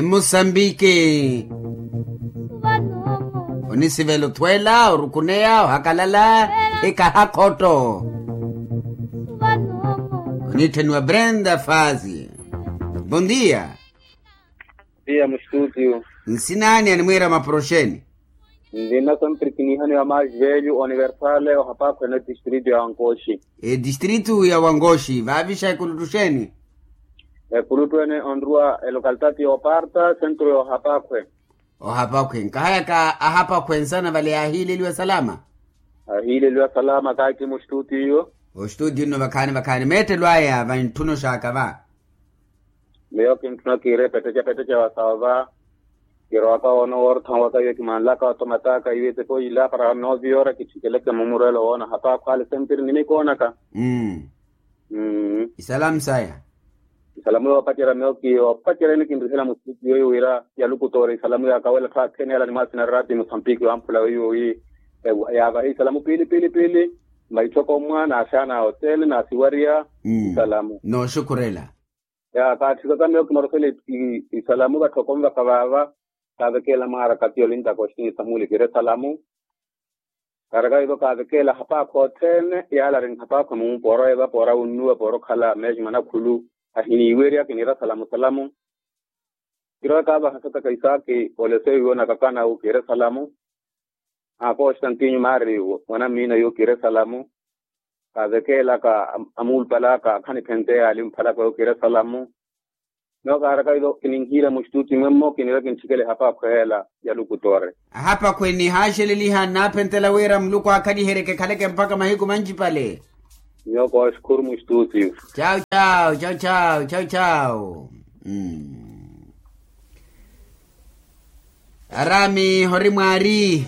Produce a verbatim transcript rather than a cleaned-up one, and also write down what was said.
Musambiki. Onisivela othweela orukuneya ohakalala. Ikahakhotto. Oniitthaniwa brenda fazi. Bondia. Bondia mustutio. Nsinani animwiira maporoxeni? Ndina samprikinihani ya maji velho universale ohapakhwene distrito ya wankoxi. Edistrito ya wankoxi vaavixa ekuluttu xeni? Ekuluttu ene onruwa elocalitati ya oparta sentro ya ohapakhwe. Ohapakhwe nkahayaka ahapakhwe nsana vale yaahiileliwa salama. Ahiileliwa salama kaaki mustutio. Ostutio nno vakhaani vakhaani meettelo aya vantthuna oxaaka va. Miyo kintthuna kiire petteca petteca wa sawa va. Kirowaka woono woortha waka iwe kimanlaka otomataka iwe teko ila para noviora kithikeleke mumurwelo woona hata akhwale sempiri nimikoonaka. Isalamu saya. Isalamu yoopacerya miyo kiyo opacerya ene kinrihela musitiyo yo wira yalukutoora isalamu yaakawela tthwaathene yala ni maasina rati musampiki wamphula weiwo wi yaavahe isalamu piili piili piili. Maitthoko mmwa naaxaana oteele naasiwariya. Isalamu. Nooxukhurela. Ya kaatthikaka miyo kimarosele isalamu vatthoko nvaka vaava. Kaavekeela mwaara katiyo lintaka oxini samuuli kire salamu. Kaaraka ivo kaavekeela ahapaakho othene yaala ari nhapaakho muumpa orowa evapo ora wunnuwa poora okhala meeji manakhulu. Ahiniiwerya kiniira salamu salamu. Kirowa kaavaha sataka isaaki olese wiwo nakakana wu kire salamu. Aa konstantinyo maari mwanammiina yo kire salamu. Kaavekeelaka amuulupalaka akhaniphente yaali mphalaka yo kire salamu. Miyo kaaraka ivo kininhiira mustuti mwemmo kiniira kintthikele ahapakhwe ela ya lukutore. Ahapakhwe nihaaxeleliha nnaaphentela wira muluku aakhalihereke ekhaleke mpakha mahiku mancipale. Miyo kooxukhuru mustuti. Chau chau chau chau chau chau. Arami hori mwaari.